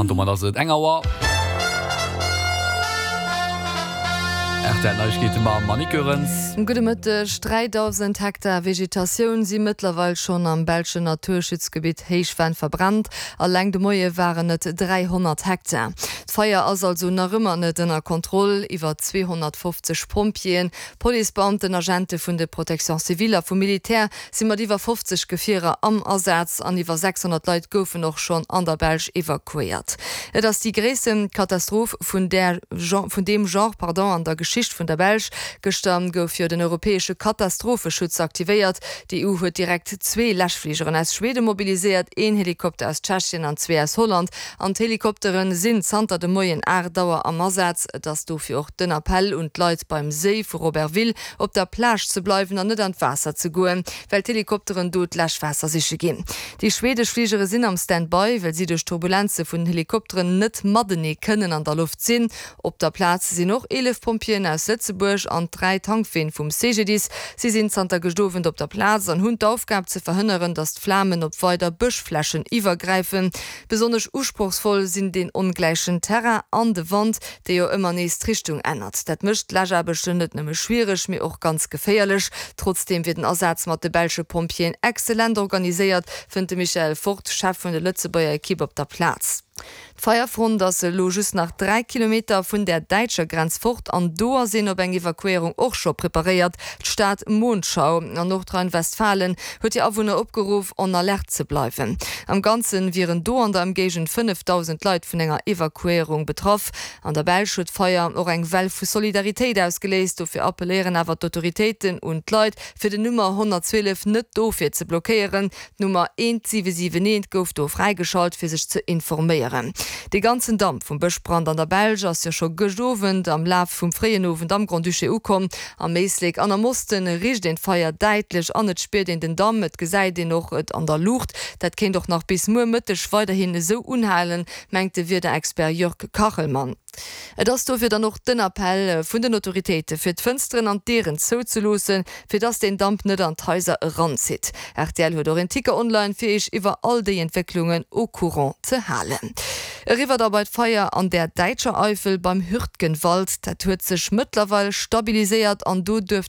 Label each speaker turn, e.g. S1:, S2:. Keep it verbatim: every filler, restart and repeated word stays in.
S1: An domat ass et eng Auer. Rtl Neiegkeete mam Monique Goerens.
S2: Gudde Mëtteg. dräidausend Hektar Vegetatioun si mëttlerweil schonn am belschen Naturschutzgebitt Héichvenn verbrannt. Alleng de Moie waren et dräihonnert Hektar. D'Feier ass also nach ëmmer net ënner Kontroll. Iwwer zweehonnertfofzeg Pompjeeën, Policebeamten, Agente vun de Protection civile a vum Militär si mat iwwer fofzeg Gefierer am Asaz an iwwer sechshonnert Leit goufen och schonn an der Belsch evakuéiert. Et ass déi gréisste Katastroph vun där vun deem Genre pardon an der Geschicht vun der Belsch. Gëschter gouf jo den europäesche Katastropheschutz aktivéiert. D'EU huet direkt zwee Läschfligeren aus Schweden mobiliséiert, een Helikopter aus Tschechien an zwee aus Holland. An d'Helikoptere sinn zanter de Moien aacht Auer am Asaz. Et ass dofir och den Appell un d'Leit beim Séi vu Robertville op der Plage ze bleiwen an net an d'Waasser ze goen, well d'Helikopteren do d'Läschwaasser siche ginn. Déi schwedesch Fligere sinn am Stand-by, well si duerch d'Turbulenze vun den Helikopteren net matenee kënnen an der Loft sinn. Op der Plaz sinn och eelef Pompjeeën aus Lëtzebuerg an dräi Tankween vum C G D I S. Si sinn zanter gëscht Owend op der Plaz an hunn d'Aufgab ze verhënneren, datt d'Flamen op weider Bëschflächen iwwergräifen. Besonnesch usprochsvoll sinn deen ongläichen Terrain an de Wand, dee jo ëmmer nees d'Richtung ännert. Dat mécht d'Läschaarbechten net nëmme schwiereg, mee och ganz geféierlech. Trotzdeem wier den Asaz mat de belsche Pompjeeën exzellent organiséiert, fënnt de Michael Fort, Chef vun der Lëtzebuerger Ekipp op der Plaz. D'Feierfront ass elo just nach dräi Kilometer vun der däitscher Grenz fort an do ass een op eng Evakuéierung och scho preparéiert. D'Stad Monschau an Nordrhein-Westfalen huet hir Awunner opgeruff, en alerte ze bleiwen. Am Ganze wieren do an der Ëmgéigend fënnefdausend Leit vun enger Evakuéierung betraff. An der Belsch huet d'Feier och eng Well vu Solidaritéit ausgeléist. Dofir appelléieren awer d'Autoritéiten un d'Leit, fir den Nummer honnertzwielef net dofir ze blockéieren. D'Nummer eent siwe siwen eent gouf do fräigeschalt, fir sech ze informéieren. Dee ganzen Damp vum Bëschbrand an der Belsch ass jo scho gëscht Owend am Laf vum fréien Owend am Grand-Duché ukomm. Am Éislek an am Osten richt een d'Feier däitlech an et spiert een den Damp, et gesäit een och et an der Luucht. Dat kéint och nach bis muer Mëtteg weiderhin esou unhalen, mengt de Wiederexpert Jörg Kachelmann. Et ass dofir dann och den Appell vun den Autoritéite fir d'Fënsteren an d'Dieren zouzeloossen, fir dass den Damp net an d'Haiser eranzitt. Rtl huet och en Ticker online fir iech iwwer all déi Entwécklungen au courant ze halen. Eriwwer da bei d'Feier an der däitscher Eifel beim Hürtgenwald. Dat huet sech mëttlerweil stabiliséiert an do duerft